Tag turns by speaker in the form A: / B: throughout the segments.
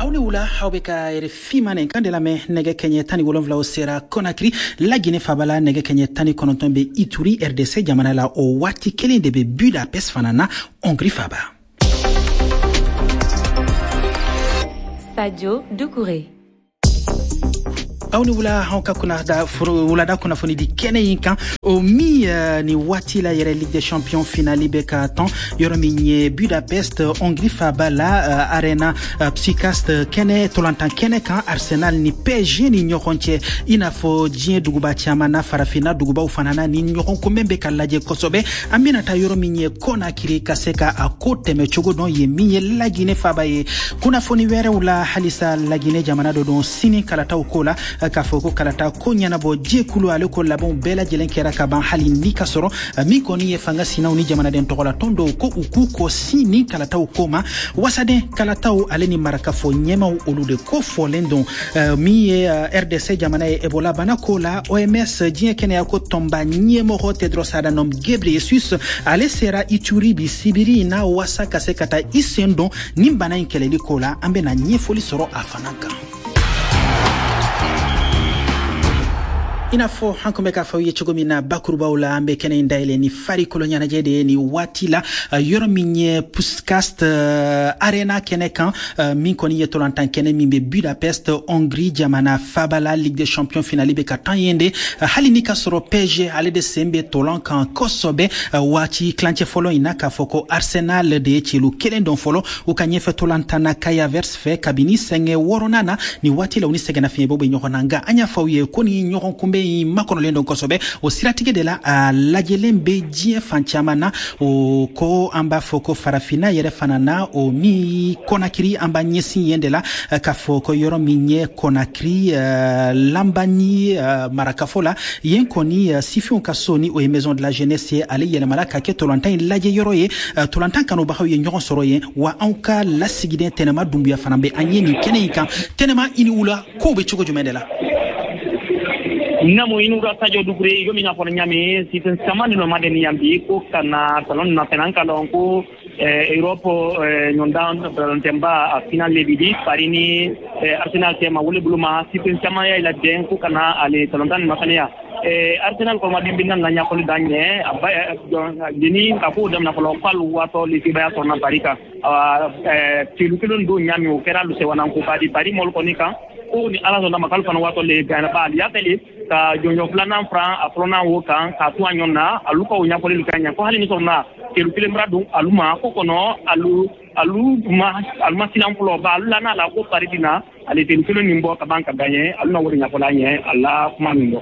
A: Aw ni wula, aw bɛ ka RFI mandenkan de lamɛn. Nɛgɛ kɛɲɛ 17 o sera Conakry, Lagine faba la. Nɛgɛ kɛɲɛ 19 bɛ Ituri, RDC jamana la. O waati kelen de bɛ Budapest fana na, Hongrie faba.
B: Sadio Doucouré.
A: Aw ni wula, anw ka wulada kunnafoni di kɛnɛ in kan, o min ni waati la yɛrɛ, Ligue des champions finale bɛ ka tɔn yɔrɔ min ye Budapest, Hongrie faba la, Arena Puskás kɛnɛ, tolantan kɛnɛ kan, Arsenal ni PSG ni ɲɔgɔn cɛ. I n'a fɔ diɲɛ duguba caman na, Farafinna dugubaw fana na, ni ɲɔgɔn kunbɛn bɛ ka lajɛ kosɛbɛ. An bɛna taa yɔrɔ min ye Conakry ka se ka a ko tɛmɛ cogo dɔn ye, min ye Lagine faba ye. Kunnafoni wɛrɛw la, halisa Lagine jamana dɔ don, sini kalataw ko la, k'a fɔ ko kalata ko ɲɛnabɔ jɛkulu, ale ko labɛnw bɛɛ lajɛlen kɛra ka ban, hali ni ka sɔrɔ min kɔni ye fanga sinaw ni jamanaden tɔgɔlatɔn dɔw ko u k'u kɔ sin ni kalataw ko ma. Wasaden kalataw ale ni marakafɔ ɲɛmaw, olu de ko fɔlen don. Min ye RDC jamana ye, Ebola bana ko la, OMS, diɲɛ kɛnɛya ko tɔnba ɲɛmɔgɔ Tedros Adhanom Ghebreyesus, ale sera Ituri bi sibiri in na wasa ka se ka taa i sen don nin bana in kɛlɛli ko la. An bɛna ɲɛfɔli sɔrɔ a fana kan. I n'a fɔ an kun bɛ k'a fɔ aw ye cogo min na bakurubaw la, an bɛ kɛnɛ in dayɛlɛ ni farikolo ɲɛnajɛ de ye ni waati la, yɔrɔ min ye Puskás Arena kɛnɛ kan, min kɔni ye tolantan kɛnɛ min bɛ Budapest, Hongrie jamana faba la. Ligue des champions finale bɛ ka tan yen de, hali ni ka sɔrɔ PSG ale de sen bɛ tolan kan kosɛbɛ waati tilancɛ fɔlɔ in na, k'a fɔ ko Arsenal de ye celu kelen dɔn fɔlɔ u ka ɲɛfɛ tolantan na Kai Havertz fɛ kabini sɛngɛ wɔɔrɔnan na. Ni waati la, u ni sɛgɛnnafiɲɛbɔ bɛ ɲɔgɔn na, nka an y'a fɔ aw ye ko ni ɲɔgɔn kunbɛn in makɔnɔlen don kosɛbɛ. O siratigɛ de la, a lajɛlen bɛ diɲɛ fan caman na. O ko an b'a fɔ ko Farafinna yɛrɛ fana na, o min Kɔnakiri, an b'a ɲɛsin yen de la, k'a fɔ ko yɔrɔ min ye Kɔnakiri, Lambanyi marakafo la, yen kɔni sifinw ka so, ni o ye Maison de la Jeunesse ye, ale yɛlɛmara ka kɛ tolantan in lajɛ yɔrɔ ye. Tolantan kanubagaw ye ɲɔgɔn sɔrɔ yen. Wa anw ka lasigiden Tɛnɛma Dunbuya fana bɛ an ye nin kɛnɛ in kan. Tɛnɛma, i ni wula, kow bɛ cogo jumɛn de la?
C: Namu, inu ka Sadio Doucouré, komi n'a fɔra ɲami sifin caman de nɔ ma deni yan bi ko ka na talon na fɛnɛ. An ka lɔn ko Europe ɲɔndan balontanba a final le bi di Paris ni Arsenal cɛ ma. Wole bolo ma sifin caman y'a la den ko ka na ale talontan nin ma fɛnɛ ya. Arsenal kɔrɔmaden bɛ na ɲɛfɔli da ɲɛ a ba jeni ka ko daminɛ fɔlɔ k'alu waatɔ le sebaya sɔrɔ na Paris kan. Awa, telu kelen don ɲami, o kɛra alu sewanan ko ba di Paris mɔlu kɔni kan ko ni Ala sɔnna ma k'alu fana waatɔ le gana ba ali y'a fɛ ka jɔnjɔn filanan furan a fɔlɔnan wo kan k'a to a ɲɔgɔn na. Alu ka o ɲɛfɔli ka ɲɛ ko hali ni sɔrɔ na telu kelen bara don alu ma ko kɔnɔ, alu ma silan fɔlɔ ba alu la n'a la ko Paris bi na ale telu kelen nin bɔ ka ban ka gaɲɛ. Alu na o de ɲɛfɔla ɲɛ a la kuma min bɔ.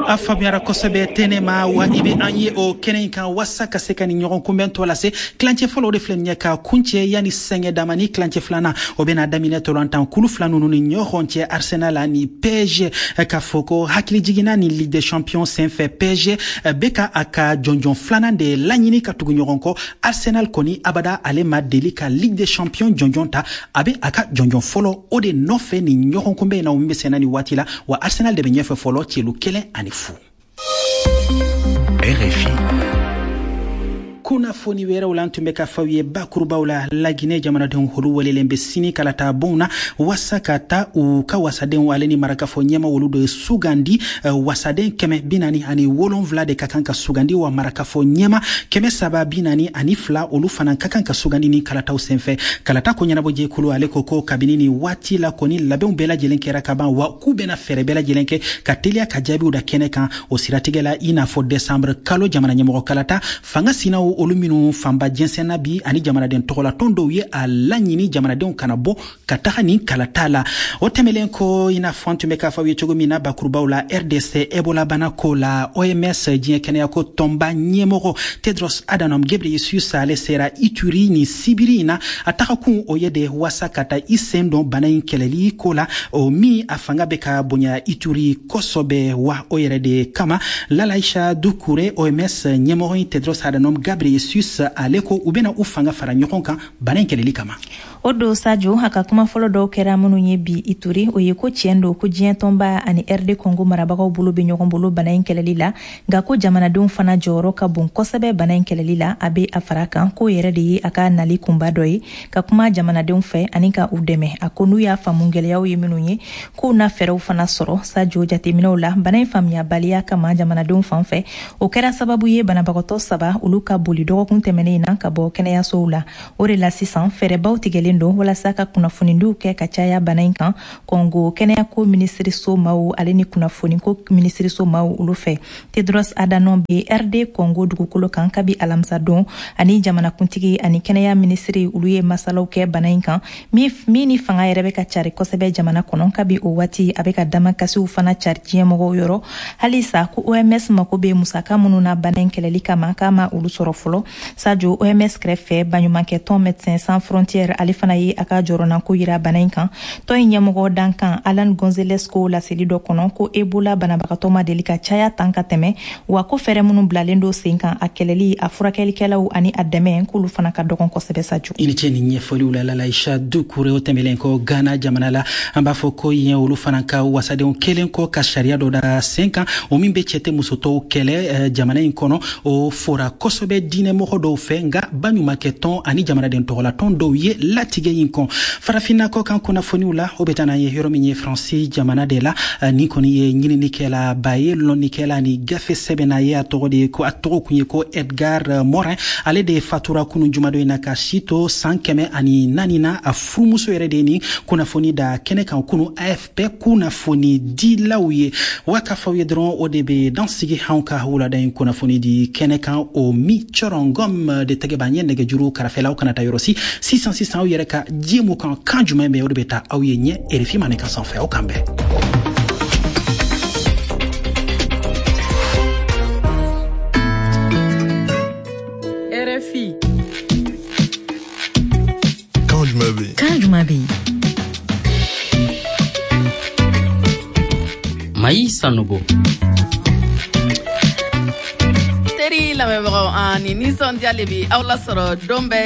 A: A faamuyara kosɛbɛ, Tɛnɛma. Wa i bɛ an ye o kɛnɛ in kan wasa ka se ka nin ɲɔgɔn kunbɛn tɔ lase. Tilancɛ fɔlɔ, o de filɛ nin ye ka kuncɛ. Yanni sɛngɛ damani, tilancɛ filanan o bɛna daminɛ tolantan kulu fila ninnu ni ɲɔgɔn cɛ, Arsenal ani PSG. K'a fɔ ko hakili jiginna ni Ligue des champions senfɛ, PSG bɛ ka a ka jɔnjɔn filanan de laɲini ka tugu ɲɔgɔn kɔ. Arsenal kɔni, abada ale ma deli ka Ligue des champions jɔnjɔn ta. A bɛ a ka jɔnjɔn fɔlɔ o de nɔfɛ nin ɲɔgɔn kunbɛn in na, o min bɛ senna nin waati la. Wa Arsenal de bɛ ɲɛfɛ fɔlɔ, celu 1-0.
D: RFI.
A: Kunnafoni wɛrɛw la, an tun bɛ ka fɔ aw ye bakurubaw la, Laginɛ jamanadenw, olu welelen bɛ sini kalata bonw na wasa ka taa u ka wasadenw ale ni marakafɔ ɲɛma, olu de sugandi. Wasaden 447 de ka kan ka sugandi, wa marakafɔ ɲɛma 342, olu fana ka kan ka sugandi ni kalataw senfɛ. Kalata ko ɲɛnabɔ jɛkulu, ale ko ko kabini ni waati la kɔni, labɛnw bɛɛ lajɛlen kɛra ka ban, wa k'u bɛna fɛɛrɛ bɛɛ lajɛlen kɛ ka teliya ka jaabiw da kɛnɛ kan. O siratigɛ la, i n'a fɔ desanburu kalo jamana ɲɛmɔgɔ kalata, fanga sinaw, olu minnu fanba jɛnsɛnna bi, ani jamanaden tɔgɔlatɔn dɔw ye a laɲini jamanadenw kana bɔ ka taga nin kalata la. O tɛmɛlen ko, i n'a fɔ an tun bɛ k'a fɔ aw ye cogo min na bakurubaw la, RDC Ebola bana ko la, OMS, diɲɛ kɛnɛyako tɔnba ɲɛmɔgɔ Tedros Adhanom Ghebreyesus, ale sera Ituri ni sibiri in na. A tagakun o ye de wasa ka taa i sen don bana in kɛlɛli ko la, o min a fanga bɛ ka bonya Ituri kosɔbɛ. Wa o yɛrɛ de kama, Lalaisha Dukure, OMS ɲɛmɔgɔ in Tedros Adhanom Ghebreyesus Ghebreyesus, ale ko u bɛna u fanga fara ɲɔgɔn kan bana in kɛlɛli kama.
B: O don, Sajo, a ka kuma fɔlɔ dɔw kɛra minnu ye bi Ituri, o ye ko tiɲɛ don ko diɲɛ tɔnba ani RD Congo marabagaw bolo bɛ ɲɔgɔn bolo bana in kɛlɛli la, nka ko jamanadenw fana jɔyɔrɔ ka bon kosɛbɛ bana in kɛlɛli la. A bɛ a fara kan k'o yɛrɛ de ye a ka nali kunba dɔ ye, ka kuma jamanadenw fɛ ani ka u dɛmɛ. A ko n'u y'a faamu gɛlɛyaw ye minnu ye, k'u na fɛɛrɛw fana sɔrɔ. Sajo, jateminɛw la, bana in faamuyabaliya kama jamanadenw fan fɛ, o kɛra sababu ye banabagatɔ saba olu ka boli dɔgɔkun tɛmɛnen in na ka bɔ kɛnɛyasow la. O de la sisan fɛɛrɛbaw tigɛlen don walasa ka kunnafonidiw kɛ ka caya bana in kan Kɔngo kɛnɛyako minisiriso maw ale ni kunnafoniko minisiriso maw olu fɛ. Tedros Adhanom bɛ RD Congo dugukolo kan kabi alamisa don. Ani jamanakuntigi ani kɛnɛya minisiri, olu ye masalaw kɛ bana in kan min ni fanga yɛrɛ bɛ ka cari kosɛbɛ jamana kɔnɔ. Kabi o waati, a bɛ ka damakasiw fana cari diɲɛmɔgɔw yɔrɔ. Halisa ko OMS mako bɛ musaka minnu na bana in kɛlɛli kama, k'a ma olu sɔrɔ fɔlɔ. Sajo, OMS kɛrɛfɛ, baɲumankɛtɔn Médecins Sans Frontières, ale fana ye a ka jɔrɔnako yira bana in kan. Tɔn in ɲɛmɔgɔ dankan Alan Gonzales ko laseli dɔ kɔnɔ ko Ebola banabagatɔ ma deli ka caya tan ka tɛmɛ, wa ko fɛɛrɛ minnu bilalen do sen kan, a kɛlɛli, a furakɛlikɛlaw ani a dɛmɛ, k'olu fana ka dɔgɔn kosɛbɛ, Sajo.
A: I ni ce ni ɲɛfɔliw la, Lalaisha Dukure. O tɛmɛlen kɔ, Ghana jamana la, an b'a fɔ ko yen olu fana ka wasadenw kelen kɔ ka sariya dɔ da sen kan, o min bɛ cɛ tɛ musotɔw kɛlɛ jamana in kɔnɔ. O fora kosɛbɛ diinɛmɔgɔ dɔw fɛ, nka baɲumankɛtɔn ani jamanaden tɔgɔlatɔn dɔw ye latigɛ in kɔn. Farafinna kɔ kan kunnafoniw la, o bɛ taa n'an ye yɔrɔ min ye Faransi jamana de la. Nin kɔni ye ɲininikɛla ba ye, lɔnnikɛla ni gafe sɛbɛnna ye. A tɔgɔ de ye ko, a tɔgɔ kun ye ko Edgar Morin. Ale de fatura kunu jumadon in na ka si to san 104 na. A furumuso yɛrɛ de ye nin kunnafoni da kɛnɛ kan kunu AFP kunnafoni dilaw ye. Wa k'a fɔ aw ye dɔrɔn, o de bɛ dan sigi anw ka wulada in kunnafoni di kɛnɛ kan. O mi cɔrɔngɔm de tɛgɛ b'an ye nɛgɛjuru karafɛlaw. Kana taa yɔrɔ si sisan sisan, aw yɛrɛ ka jɛmu kan kan jumɛn bɛ, o de bɛ taa aw ye ɲɛ RFI Mandenkan sanfɛ. Aw kan bɛn.
D: RFI.
E: Kan jumɛn bɛ yen?
F: Kan jumɛn bɛ yen?
G: Mayi Sanogo.
D: Teri lamɛnbagaw, an ni nisɔndiya le bi aw lasɔrɔ don bɛɛ.